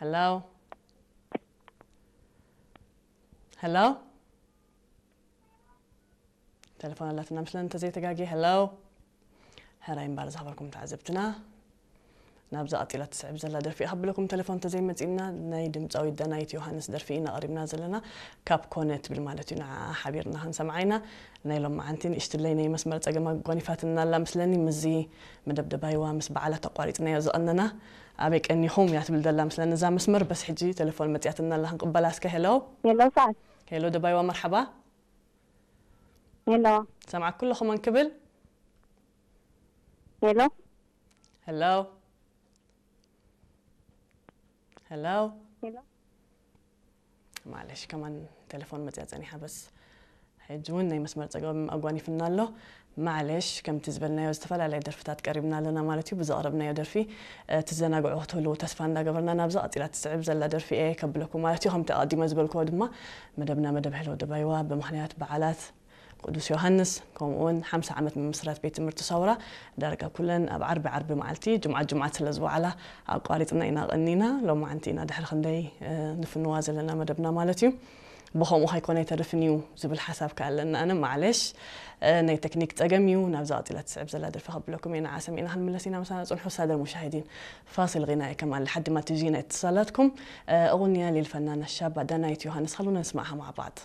ሄሎ፣ ሄሎ። ተለፎን ኣላትና ምስለን እንተዘይተጋጌ። ሄሎ፣ ሕራይ እምበር ዝኸበርኩም ተዓዘብትና፣ ናብዛ ቀጺላ ትስዕብ ዘላ ደርፊ እያ ከብለኩም። ተለፎን እንተዘይመጺእና፣ ናይ ድምጻዊ ዳናይት ዮሃንስ ደርፊ ኢና ቀሪብና ዘለና። ካብ ኮነ ትብል ማለት እዩ፣ ንዓ ሓቢርና ክንሰምዓ ኢና። ናይ ሎማዓንቲ ንእሽትለይ ናይ መስመር ጸገም ኣጓኒፋትና ኣላ ምስለኒ። ምስዚ መደብ ደባይዋ ምስ በዓላት ኣቋሪጽናዮ ዝቐነና። ኣበይ ቀኒኹም እያ ትብል ዘላ ምስለኒ እዛ መስመር። በስ ሕጂ ተለፎን መጺኣትና ኣላ፣ ክንቅበላ እስከ። ሄሎ፣ ሄሎ፣ ሰዓት። ሄሎ ደባይዋ፣ መርሓባ። ሄሎ። ሰምዓኩ ኣለኹ፣ መን ክብል? ሄሎ። ሄሎ። ሄሎ። ሄሎ። ማለሽ፣ ከማን ቴሌፎን መጽያ ጸኒሓ፣ በስ ሕጂ እውን ናይ መስመር ጸገም ኣጓኒፍና ኣሎ። ማለሽ፣ ከምቲ ዝበልናዮ ዝተፈላለየ ደርፍታት ቀሪብና ኣለና ማለት እዩ። ብዘቕረብናዮ ደርፊ፣ እ፣ ትዘናግዑ ክትህልዉ ተስፋ እንዳገበርና፣ ናብዛ ቀጺላ ትስዕብ ዘላ ደርፊ እየ ከብለኩም ማለት እዩ። ከምቲ ኣቐዲመ ዝበልክዎ ድማ፣ መደብና መደብ ሄሎ ደባይዋ ብምኽንያት በዓላት ቅዱስ ዮሃንስ፣ ከምኡ እውን ሓምሳ ዓመት ምምስራት ቤት ትምህርቲ ሳውራ፣ ዳርጋ ኩለን ኣብ ዓርቢ ዓርቢ መዓልቲ፣ ጅምዓት ጅምዓት ስለ ዝወዓላ ኣቋሪጽና ኢና ቀኒና። ሎማዓንቲ ኢና ድሕሪ ክንደይ፣ እ፣ ንፍንዋ ዘለና መደብና ማለት እዩ። ብኸምኡ ከይኮነ ኣይተርፍን እዩ ዝብል ሓሳብ ከኣ ኣለና። ኣነ ማዕለሽ፣ እ፣ ናይ ቴክኒክ ጸገም እዩ። ናብዛ ቀጺላ ትስዕብ ዘላ ደርፊ ከብለኩም እየ። ንዓ ሰሚዕና ክንምለስ ኢና። ምሳና ጽንሑ። ሳደር ሙሻሂዲን፣ ፋሲል ጊናይ ከማል ሓዲማ ቲቪ ጊናይ እትሳላትኩም፣ እ፣ እغنية للفنانة الشابة دانايت يوهانس. خلونا نسمعها مع بعض.